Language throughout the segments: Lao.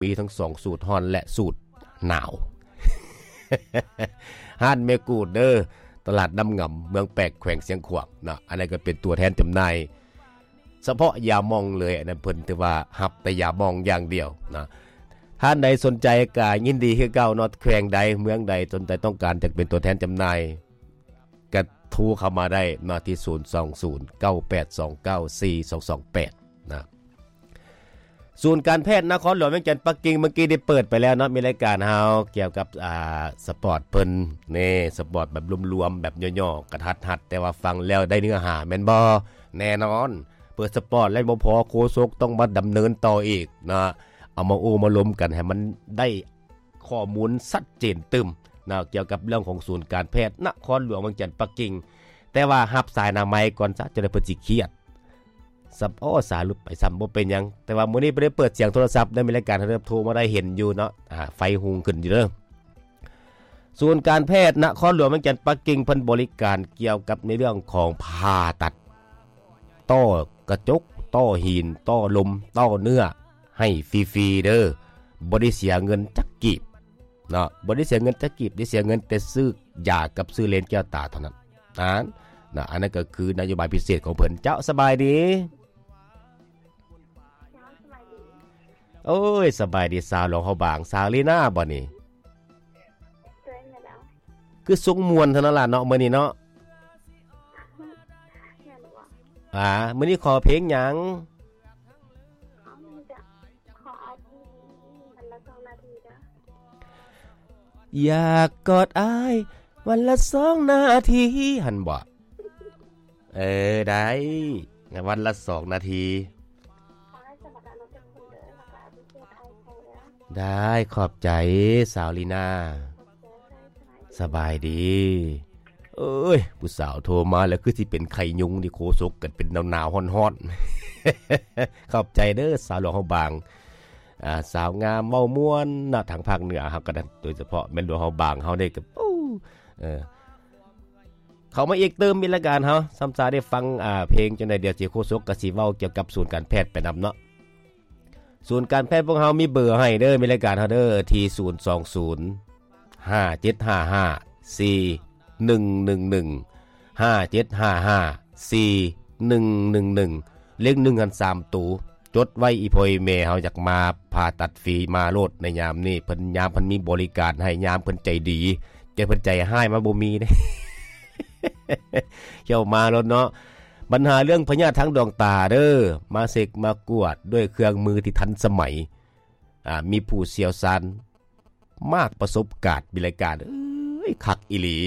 ມີທັງສອງສູດ ຮ້ອນ ແລະ ສູດໜາວ. ຮ້ານແມ່ກູດເດີ ຕະຫຼາດນ້ຳງຳ ເມືອງແປກ ແຂວງຊຽງຂວາງເນາະ. ອັນນັ້ນກໍເປັນຕົວແທນຈຳໜ່າຍສະເພາະຢາໝອງເລີຍ. ອັນນັ້ນເພິ່ນຖືວ່າຮັບແຕ່ຢາໝອງຢ່າງດຽວນະ. ທ່ານໃດສົນໃຈກໍຍິນດີຄືເກົ່າເນາະ, ແຂວງໃດ ເມືອງໃດ ສົນໃຈຕ້ອງການຢາກເປັນຕົວແທນຈຳໜ່າຍ ກໍໂທເຂົ້າມາໄດ້ເນາະ ທີ່ ສູນສອງສູນ ເກົ້າແປດສອງເກົ້າ ສີ່ສອງສອງແປດ ນະ. ສູນການແພດນະຄອນຫຼວງວຽງຈັນປັກກິ່ງ ເມື່ອກີ້ໄດ້ເປີດໄປແລ້ວເນາະ, ມີລາຍການເຮົາກ່ຽວກັບ ອ່າ ສະປອດເພິ່ນ ນີ້ ສະປອດແບບລວມໆ ແບບຫຍໍ້ໆ ກະທັດຮັດ ແຕ່ວ່າຟັງແລ້ວໄດ້ເນື້ອຫາແມ່ນບໍ່? ແນ່ນອນ. ເປີດສະປອດແລ້ວບໍ່ພໍ ໂຄສົກຕ້ອງມາດຳເນີນຕໍ່ອີກນະ, ເອົາມາໂອ້ມາລົມກັນໃຫ້ມັນໄດ້ ຂໍ້ມູນຊັດເຈນຕື່ມນະ ກ່ຽວກັບເລື່ອງຂອງສູນການແພດນະຄອນຫຼວງວຽງຈັນປັກກິ່ງ. ແຕ່ວ່າຮັບສາຍໜ້າໄມກ່ອນຊະ ຈະໄດ້ເພິ່ນຊິຄຽດ. ສຳ ໂອ້ ສາຫຼຸດໄປຊ້ຳ ບໍ່ເປັນຫຍັງ. ແຕ່ວ່າມື້ນີ້ບໍ່ໄດ້ເປີດສຽງໂທລະສັບເດີ, ມີລາຍການເຮົາໂທມາໄດ້ເຫັນຢູ່ເນາະ, ອ່າ ໄຟຮຸ່ງຂຶ້ນຢູ່ເດີ. ສູນການແພດນະຄອນຫຼວງວຽງຈັນປັກກິ່ງ ເພິ່ນບໍລິການກ່ຽວກັບໃນເລື່ອງຂອງຜ່າຕັດ ຕໍ່ກະຈົກ, ຕໍ່ຫີນ, ຕໍ່ລົມ, ຕໍ່ເນື້ອ ໃຫ້ຟຣີໆເດີ, ບໍ່ໄດ້ເສຍເງິນຈັກກີບເນາະ, ບໍ່ໄດ້ເສຍເງິນຈັກກີບ, ໄດ້ເສຍເງິນແຕ່ຊື້ຢາກັບຊື້ເລນແກ້ວຕາເທົ່ານັ້ນ. ອັນນະ ອັນນັ້ນກໍຄືນະໂຍບາຍພິເສດຂອງເພິ່ນ. ເຈົ້າ ສະບາຍດີ. ໂອ້ຍ ສະບາຍດີ ສາວຫຼວງເຮົາບາງ, ສາວລີນາບໍ່ນີ້? ຄືຊົງມ່ວນເທົ່ານັ້ນລະເນາະ ມື້ນີ້ເນາະ. ອ່າ ມື້ນີ້ຂໍເພງຫຍັງ? ຢາກກອດອ້າຍວັນລະສອງນາທີ ຫັ້ນບໍ່? ເອີ ໄດ້ ວັນລະສອງນາທີ. ໄດ້ ຂອບໃຈ ສາວລີນາ. ສະບາຍດີ. ເອີຍ ຜູ້ສາວໂທມາແລ້ວ ຄືຊິເປັນໄຂ້ຍຸງນີ້ ໂຄສົກກັນເປັນໜາວໆ ຮ້ອນໆ. ຂອບໃຈເດີ ສາວຫຼວງເຮົາບາງ. ອ່າ ສາວງາມເວົ້າມ່ວນເນາະ ທາງພາກເໜືອເຮົາກໍໄດ້ ໂດຍສະເພາະແມ່ນຫຼວງເຮົາບາງເຮົານີ້ກໍ ໂອ້ ເອີ ເຂົ້າມາອີກຕື່ມ ມີລາຍການເຮົາ ຊ້ຳຊາໄດ້ຟັງ ອ່າ ເພງຈັ່ງໃດ ດຽວຊິໂຄສົກກໍຊິເວົ້າກ່ຽວກັບສູນການແພດໄປນຳເນາະ. ສູນການແພດພວກເຮົາມີເບີໃຫ້ເດີ ມີລາຍການເຮົາເດີ ທີ່ ສູນສອງສູນ ຫ້າເຈັດຫ້າຫ້າ ສີ່ໜຶ່ງໜຶ່ງໜຶ່ງ ຫ້າເຈັດຫ້າຫ້າ ສີ່ໜຶ່ງໜຶ່ງໜຶ່ງ ເລກໜຶ່ງຫັ້ນສາມໂຕ. ຈົດໄວ້ ອີ່ພໍ່ອີ່ແມ່ເຮົາຢາກມາຜ່າຕັດຟຣີ ມາໂລດໃນຍາມນີ້ ເພິ່ນ ຍາມເພິ່ນມີບໍລິການໃຫ້ ຍາມເພິ່ນໃຈດີ. ແຕ່ເພິ່ນໃຈຮ້າຍມາບໍ່ມີເດ້. ເຈົ້າມາໂລດເນາະ. ບັນຫາເລື່ອງພະຍາດທາງດວງຕາເດີ ມາເຊັກມາກວດດ້ວຍເຄື່ອງມືທີ່ທັນສະໄໝ ອ່າ ມີຜູ້ຊ່ຽວຊານ ມາກປະສົບການ ມີລາຍການ ເອີຍ ຄັກອີ່ຫຼີ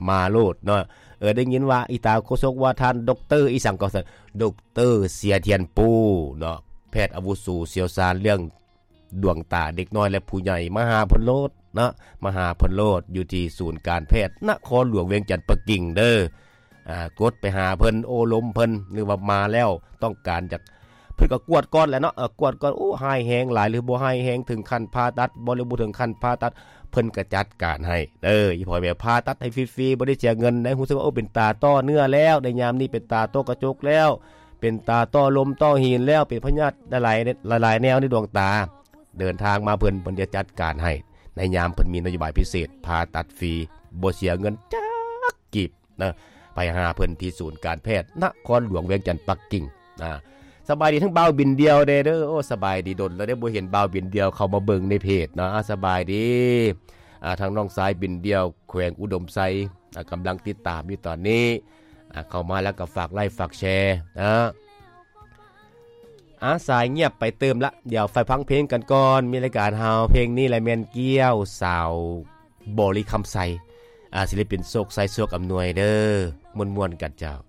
ມາໂລດເນາະ. ເອີ ໄດ້ຍິນວ່າອີຕາໂຄສົກວ່າທ່ານ ດອກເຕີ ອີ່ສັງກໍ ດອກເຕີ ເສຍທຽນປູເນາະ ແພດອາວຸໂສຊ່ຽວຊານເລື່ອງດວງຕາເດັກນ້ອຍ ແລະ ຜູ້ໃຫຍ່ ມາຫາເພິ່ນໂລດເນາະ ມາຫາເພິ່ນໂລດ ຢູ່ທີ່ສູນການແພດນະຄອນຫຼວງວຽງຈັນປັກກິ່ງເດີ. ອ່າ ກົດໄປຫາເພິ່ນ ໂອ້ລົມເພິ່ນ ຫຼືວ່າມາແລ້ວຕ້ອງການຢາກ ເພິ່ນກໍກວດກ່ອນແຫຼະເນາະ ເອີ ກວດກ່ອນ ໂອ້ ຮ້າຍແຮງຫຼາຍ ຫຼືບໍ່ຮ້າຍແຮງເຖິງຂັ້ນຜ່າຕັດບໍ່ ຫຼືບໍ່ເຖິງຂັ້ນຜ່າຕັດ ເພິ່ນກໍຈັດການໃຫ້ເດີ ອີ່ພໍ່ແມ່ ຜ່າຕັດໃຫ້ຟຣີໆ ບໍ່ໄດ້ເສຍເງິນໃດ ຮູ້ສຶກວ່າ ໂອ້ ເປັນຕາຕໍ່ເນື້ອແລ້ວ ໃນຍາມນີ້ເປັນຕາຕໍ່ກະຈົກແລ້ວ ເປັນຕາຕໍ່ລົມຕໍ່ຫີນແລ້ວ ເປັນພະຍາດຫຼາຍໆ ຫຼາຍໆແນວໃນດວງຕາ ເດີນທາງມາເພິ່ນ ເພິ່ນຈະຈັດການໃຫ້ ໃນຍາມເພິ່ນມີນະໂຍບາຍພິເສດ ຜ່າຕັດຟຣີ ບໍ່ເສຍເງິນຈັກກີບ ນະ ໄປຫາເພິ່ນທີ່ສູນການແພດນະຄອນຫຼວງວຽງຈັນປັກກິ່ງ. ອ່າ ສະບາຍດີທັງບ່າວບິນດ່ຽວແດ່ເດີ. ໂອ້ ສະບາຍດີ ດົນແລ້ວເດ້ບໍ່ເຫັນບ່າວບິນດ່ຽວເຂົ້າມາເບິ່ງໃນເພຈເນາະ. ອ່າ ສະບາຍດີ ອ່າ ທາງນ້ອງຊາຍບິນດ່ຽວ ແຂວງອຸດົມໄຊ ອ່າ ກຳລັງຕິດຕາມຢູ່ຕອນນີ້. ອ່າ ເຂົ້າມາແລ້ວກໍຝາກໄລ ຝາກແຊນະ. ອ່າ ສາຍງຽບໄປຕື່ມລະ ດຽວໄປຟັງເພງກັນກ່ອນ. ມີລາຍການເຮົາ ເພງນີ້ແຫຼະແມ່ນກ້ຽວ ສາວບໍລິຄຳໄຊ ອ່າ ສິລິປິນໂຊກໄຊ ໂຊກອຳນວຍເດີ. ມ່ວນໆກັນເຈົ້າ.